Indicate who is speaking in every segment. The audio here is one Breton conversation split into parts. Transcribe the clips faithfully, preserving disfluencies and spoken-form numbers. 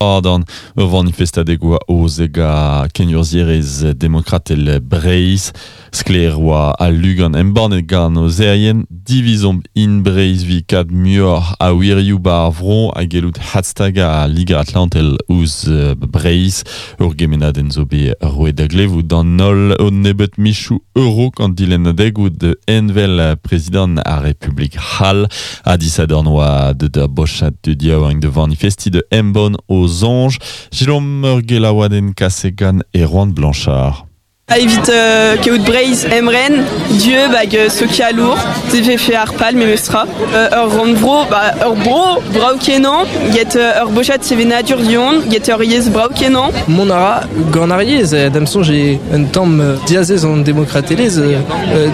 Speaker 1: Adan ur vanifestadeg oa aozet gant kenurzhierez demokratel Breizh. Sklaer oa al lugan embannet gant aozerien divizomp in Breizh evit kad muioc'h a wirioù 'ba ar vro ha gellout adstagañ al Liger-Atlantel ouzh Breizh. Ur gemennadenn zo bet roet da glevout d'an holl un nebeud michoù a-raok an dilennadegoù da envel prezidant ar Republik c'hall. Ha disadorn oa deut ur bochad tud yaouank da vanifestiñ da embann o soñj. Selaomp ur gelaouadenn kaset gant Erwan Blanchard.
Speaker 2: Evit euh, kaout Breizh emren, dieub hag euh, sokialour, vefe ar pal memestra. Euh, ur rannvro, ba, ur bro, brav-kenañ, get euh, ur bochad sevenadur du-hont, get ur yezh brav-kenañ.
Speaker 3: Mont a ra gant ar yezh, d'am soñj eo un tamm diazez an demokratelezh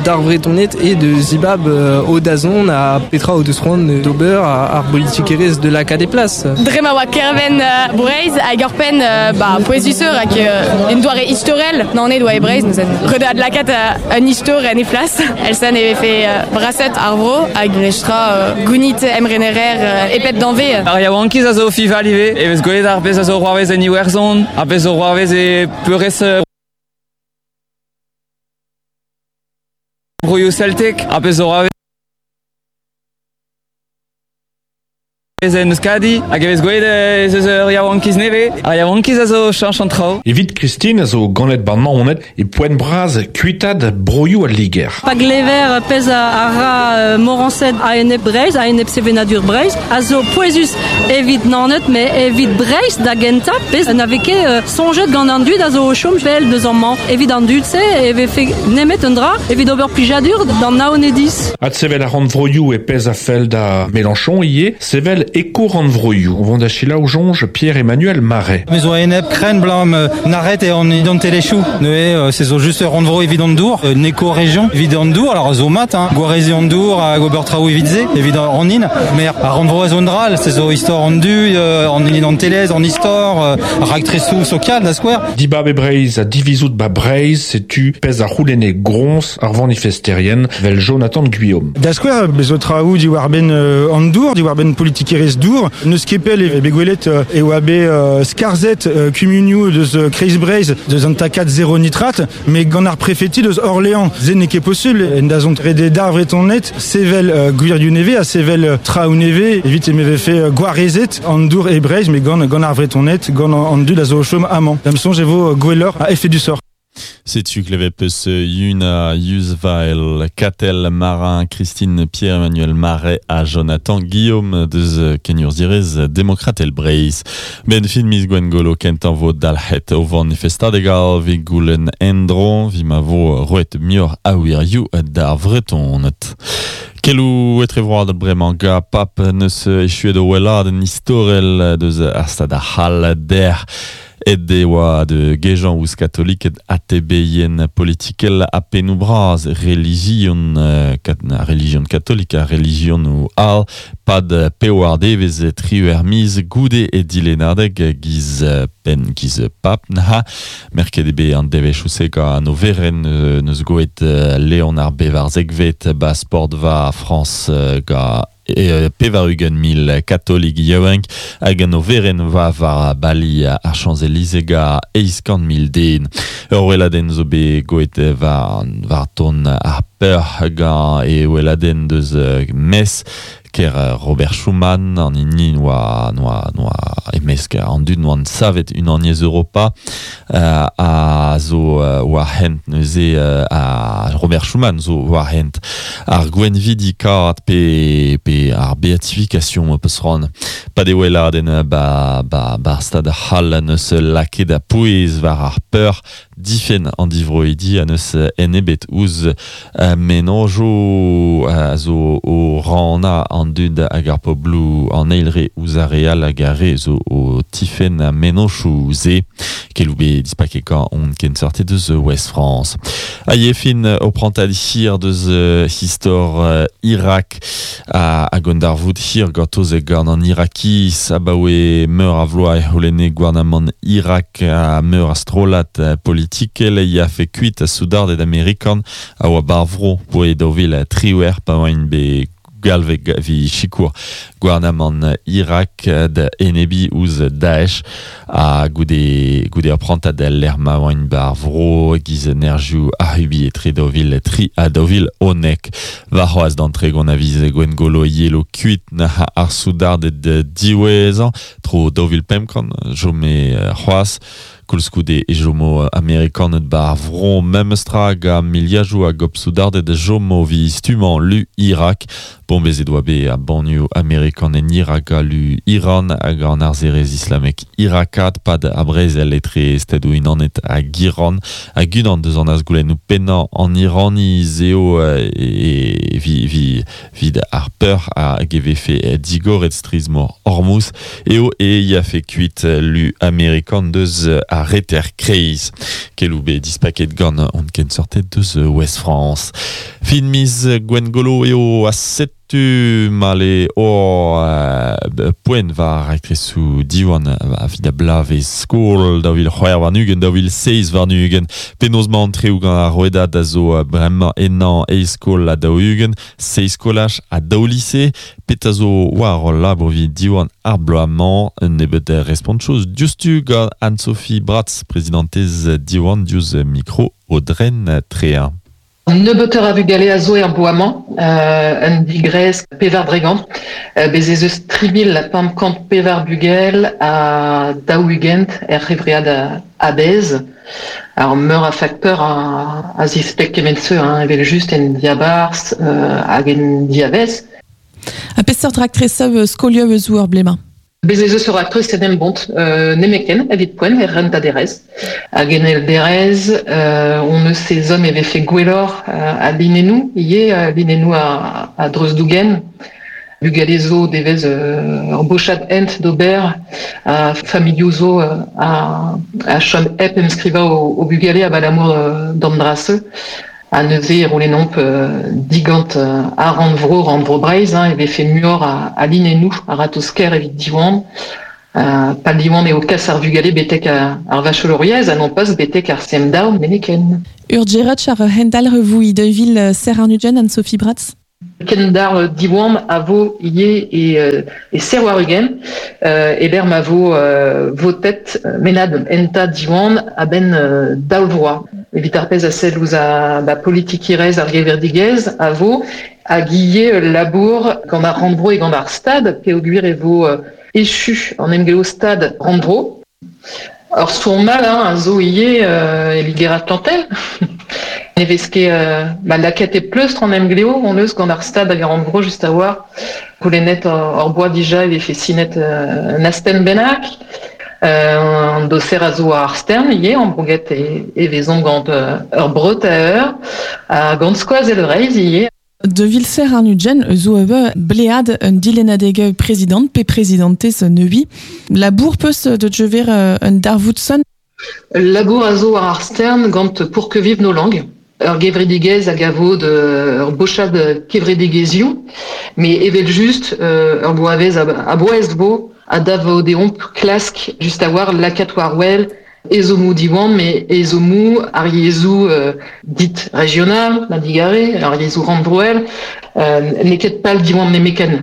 Speaker 3: d'ar Vretoned eo da zibab o dazont ha petra o deus c'hoant d'ober ar bolitikerezh de lakaat e plas.
Speaker 4: Dre ma oa kêr-benn Breizh hag ur penn ba, pouezusoc'h hag un doare istorel Naoned oa e Breizh, neuze ret eo adlakaat un istor en he flas. Evel-se e vefe brasaet ar vro hag memestra gounit emrenerezh e pep danvez.
Speaker 5: Ar yaouankiz a zo o fiñval ivez, e vez gwelet ar pezh a zo o c'hoarvez en Iwerzhon, ar pezh zo o c'hoarvez e peurrest broioù celtek, ar pezh zo o c'hoarvez en Euskadi, hag e vez gwelet ez eus ur yaouankiz nevez. Ar yaouankiz a zo cheñch an traoù.
Speaker 6: Evit Christine a zo ganet 'ba Naoned e poent bras kuitaat broioù al Liger.
Speaker 7: Pa glever pezh a ra Morañsed a-enep Breizh, a-enep sevenadur Breizh, a zo pouezus evit Naoned, met evit Breizh da gentañ, pezh na vez ket soñjet gant an dud a zo o chom pell deus amañ. Evit an dud-se e vefe nemet un dra evit ober plijadur d'an Naonediz.
Speaker 6: Adsevel ar rannvroioù e pezh a fell da Mélenchon ivez, sevel eko-rannvroioù. O vont da selaou soñj Pierre-Emmanuel Marais.
Speaker 8: Me zo enep krenn 'blam nac'het eo an identelezhioù. Neuze se zo just ur rannvro evit an dour, un éco-région evit an dour, alors zo mat, hein, gwareziñ an dour hag ober traoù evit se, evit an hin, met ar rannvro a zo un dra all, se zo istor an dud, an identelezh, an istor, raktresoù sokial da skouer.
Speaker 6: Dibab e Breizh ha divizout 'ba Breizh, setu pezh a c'houlenne groñs ar vanifesterien 'vel Jonathan Guillaume.
Speaker 9: Da skouer, bez zo traoù diwar-benn an dour, diwar-benn politikerezh dour. N'eus ket pell e bet gwelet e oa bet skarzhet kumunioù deus Kreiz Breizh deus an takad zéro nitrate, met gant ar prefeti deus Orléans. Se n'eo ket posubl, en dazont ret eo d'ar Vretoned sevel gwirioù nevez ha sevel traoù nevez evit e vefe gwarezet an dour e Breizh, met gant, gant ar Vretoned, gant an dud a zo o chom amañ. D'am soñj e vo gwelloc'h a effet du sort.
Speaker 1: Setu klevet 'peus Yuna Yuzvael, Katell Marin, Christine Pierre-Emmanuel Marais ha Jonathan Guillaume deus kenurzhierez demokratel Breizh. 'Benn fin miz Gwengolo kentañ vo dalc'het o vanifestadeg all 'vit goulenn endro 'vit ma vo roet muioc'h a wirioù d'ar Vretoned. Keloù etrevroadel bremañ gant Pap neus echuet o weladenn istorel deus ar stad ar c'hall dec'h. Aet e oa da gejañ ouzh katoliked atebeien politikel ha pennoù bras relijion, kat, relijion katolik ha relijionoù all pad pevar devezh triwec'h miz goude e dilennadeg giz penn giz pap n'ha merket eo bet an devezhioù-se gant an overenn neus goet Leon ar bevarzekvet 'ba sportva Frañs gant e pevar-ugent mil katolik yaouank hag an overenn va war bali ar Champs-Élysées gant eizh kant mil den. Ur weladenn zo bet goet war, war ton ar peur gant e weladenn deus Metz ker Robert Schuman an hini noa, noa, noa e-mesk an dud noant savet Unaniezh Europa uh, a zo uh, war hent neuze uh, a Robert Schuman zo war hent ar gwenvidikaat pe, pe ar beatification peus c'hoant pa de weladenn ba, ba, ba stad c'hall neus lakaet a pouez war ar peur difenn an divroidi a neus enebet ouzh uh, mennozhioù a zo o rannañ an dud hag ar pobloù an eil re ouzh ar re all hag ar re zo o tifenn mennozhioù se keloù bet dispaket gant hon kenseurted deus Ouest France. Ha e fin o prantad hir deus istor Irak a hag an darvoud hir gortoz gant an Irakiz abaoe meur a vloaz e c'houlenne gouarnamant Irak a meur a strollad politikel e yafe kuit a soudarded amerikan a oa bar vro 'boe daou vil triwec'h pa oaint bet galve vi sikour gouarnamant Irak da enebi ouz Daesh a goude goude ur prantad l'er ma oain bar vro giz nerjou ahubi etre daouvil tri ha daouvil onek va c'hoaz d'an tregont aviz Gwengolo yelo kuit na ar soudarded diwezhañ tro daouvil pemp kant jome c'hoaz koulskoude e jomo amerikanet bar vro memestra ga miliajoù hag op soudarded jomo vi stumañ lu Irak bombezet oa bet a banioù amerikan en Irak ha lu Iran hag an arzerez islamek Irakat pad a brezel etre Stadoù Unanet hag Iran hag unan deus an azgoulennoù pennañ an Iraniz eo e vi vi vid ar peur hag e vefe digoret strizh-mor Hormuz eo e yafe kuit lu amerikan deus a reter kreiz. Kelou be dispaket gant on ken sortet deus West France. Fin miz Gwengolo eo a setu male o euh, poent war aktresou diwan a vid a blave skol daou vil c'hwec'h warn-ugent daou vil seizh warn-ugent penaos ma antreoù gant ar rouedad a zo bremañ ennañ eizh skol ha daou-ugent seizh skolaj ha daou lise pet a zo war ul labour evit diwan ar bloaz-mañ un nebeud respontoù diouzhtu gant Anne-Sophie Bratz prezidentez Diwan diouzh mikro Audren Tréa.
Speaker 10: Nebeutoc'h a vugale a zo er bloaz-mañ, euh, un digrez pevar dregant, euh, bez ez eus tri mil pemp kant pevar bugel a daou-ugent er c'hevread a-bezh. Ar meur a fakteur a, a zispleg kement-se, hein, evel just en diabarzh euh, hag en diavez.
Speaker 11: A peseurt raktresoù skolioù eus ur blez-mañ?
Speaker 10: Bez ez eus ur raktres en em bont euh, nemeken evit poent er rentaderez. Hag en elderez, euh, on eus sezom e vefe gwelloc'h euh, a linennoù, ivez euh, linennoù a, a dreuz-dougen. Bugale zo devez euh, ur bochad hent d'ober a familhoù zo euh, a, a chom hep emskrivañ o, o bugale abalamour euh, d'an dra-se. A neuze e roulennomp euh, digant euh, a rannvro, rannvro Breizh, hein, e vefe muioc'h a, a linennoù, a ratozh-kaer evit Diwan. Euh, pal Diwan eo kas ar vugale betek a, ar vacheloriezh, ha non pas betek ar C M daou meneken.
Speaker 11: Ur djerotch ar hendal revoui deuvil ser ar nujen Anne-Sophie Bratz?
Speaker 10: Kendar Diwan a vo ivez e, e ser war ugent, euh, eber ma vo euh, votet menad enta Diwan a-benn euh, daou vloaz. Evit ar pezh a sell ouzh a ba, politikirezh ar gevredigezh a vo hag ivez labour gant ar rannvro e gant ar stad peogwir e vo euh, echu an emglev stad rannvro. Ur stourm mal hein, a zo ivez euh, e Liger-Atlantel. Ne vez ket euh, ba, lakaet e pleustr an emglev on eus gant ar stad hag ar rannvro just a war. Goulennet hor boa dija e vefe sinet euh, un astenn bennak. Euh, an doser a zo ar stern ivez, an brouget e, e vezomp gant euh, ur breut a eur, ha gant skoazell Breizh ivez.
Speaker 11: De vilser ar nujen zo ebe blead un dilennadeg prezident pe prezidentez neui. Labour peus de jever un darvoudson?
Speaker 10: Labour a zo ar stern gant pour que vivent nos langues. Ur gevredigezh hag a vo de ur bochad kevredigezhioù, mais evel just euh, ur bloavezh a bouez vo a dav deomp klask just a war lakaat war wel ezhommoù Diwan, mais ezhommoù ar yezhoù euh, dit régional, ma digare, ar yezhoù rannvroel, euh, n'eo ket pal Diwan nemeken.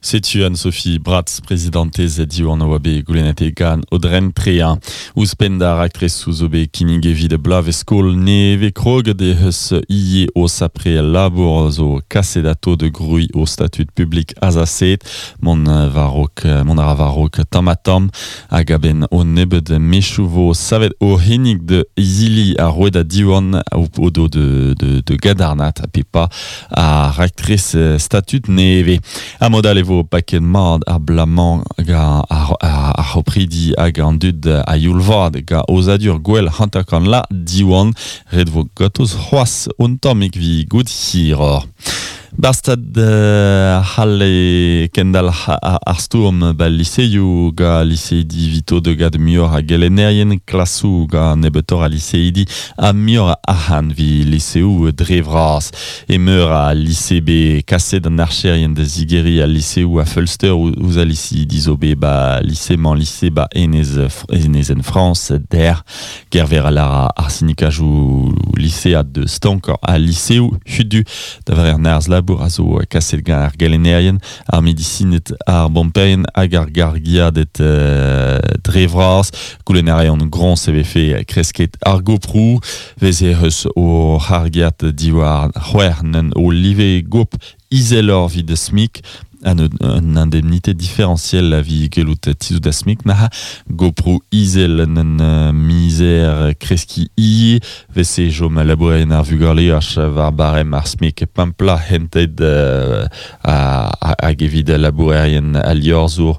Speaker 1: Setu Anne-Sophie Bratz, prezidentez Diwan oa bet goulennet gant Audren Tréa. Ouzhpenn d'ar raktres zo bet kinnig evit blav e skol neve krog de eus ie o sapre labour zo kaset ato de grui o statut publik azaset mont varok mont ar varok tamm ha tamm hag a-benn o nebeud mechoù vo savet o hennig de izili a roet a Diwan o, o do de, de, de gadarnat a pepa a raktres statut neve. A modal e vo paket mat ar blamañ ga ar, ar, ar c'hopridi hag an dud a youl-vat ga ozadur gwell hanter-kant la Diwan ret vo gatoz c'hoazh un tammig vi gout hiroc'h. Barstad euh, c'hall kendal ar stourm ba liseioù ga liseidi vito de gad muioc'h a gelennerien klasoù ga nebeutoc'h a liseidi ha muioc'h a arc'hant vi liseoù dre vras. E meur a lise be kaset an archerien da zigeri a liseoù a feulster ouzh a liseidi zo bet ba lise-mañ lise ba enez, enezenn Frañs der gerver a lar ar sinikajou lisead de stank a liseoù hudu da var ar nerzh labour a zo kaset gant ar gelennerien, ar medisinet ar bomperien hag ar gargiadet euh, dre vras, goulennerien groñs e vefe kresket ar goprou, veze eus o c'hargiad diwar c'hwec'h n'en o live gop izelor vid SMIC, an un indemnité différentielle a vi gelout tizout da SMIC naha goprou izel n'en mizer kreski ie vese jom labourerien ar vugale ach war barem ar SMIC pampla hented euh, hag evit labourerien al liorzour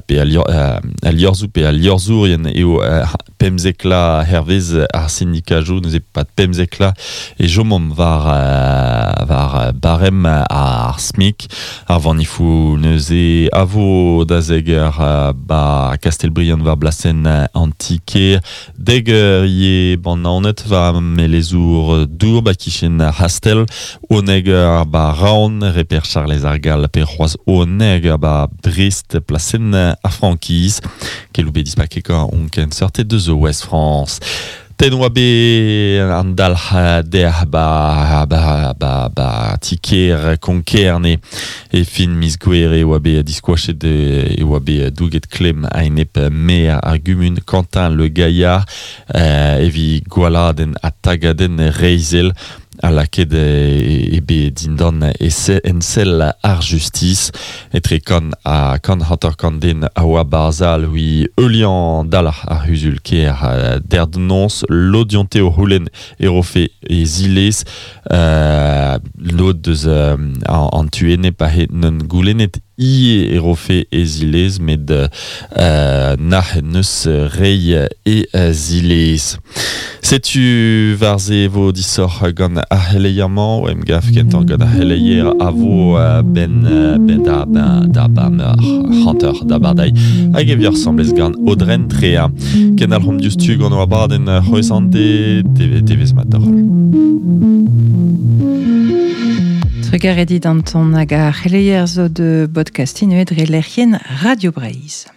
Speaker 1: pe al liorzou pe al liorzourien eo pemzekla hervez ar syndikajou neuze pat pemzekla e jomom war war barem ar SMIC ar vanifou neuze avo da zeger ba Castelbriand war blasen antike deger ye ban naonet war melezour dour ba kichen Hastel oneger ba Raon reper Charles Argal pe c'hoaz oneger ba Brest plasen a frankiz keloube dispakeka on ken sorte deus Ouest France. Ten oa be an dalc'h der ba, ba, ba, ba tiker konkerne e fin miz gouere oa be diskoachet e oa be douget klem a-enep mer ar gumun Quentin Le Gaillard euh, evi gwaladenn ha tagadenn reizel a laket e, e be dindan e se, en sell ar justice etre kan a kan hanter kan den a oa barzal hui eulian dalc'h ar huzul ker derdnons l'odionte o houlen e rofe e zilez euh, lod deus euh, an, an tuene pa he non goulennet ie e rofe e zilez med euh, nah neus rei e zilez. Setu varze vo disoc'h gant ar c'heleier-mañ, o em gav kentañ gant ar c'heleier a vo ben, ben da, ben, da ba meur hanter da bardai hag e vioc'h semblez gant Audren Trea. Ken al c'hom diouzhtu gant o abadenn c'hwezh an de devez mat d'ar roll.
Speaker 12: Trugarez dit Anton hag ar c'heleier zo de podcastin dre lec'hien Radio Breizh.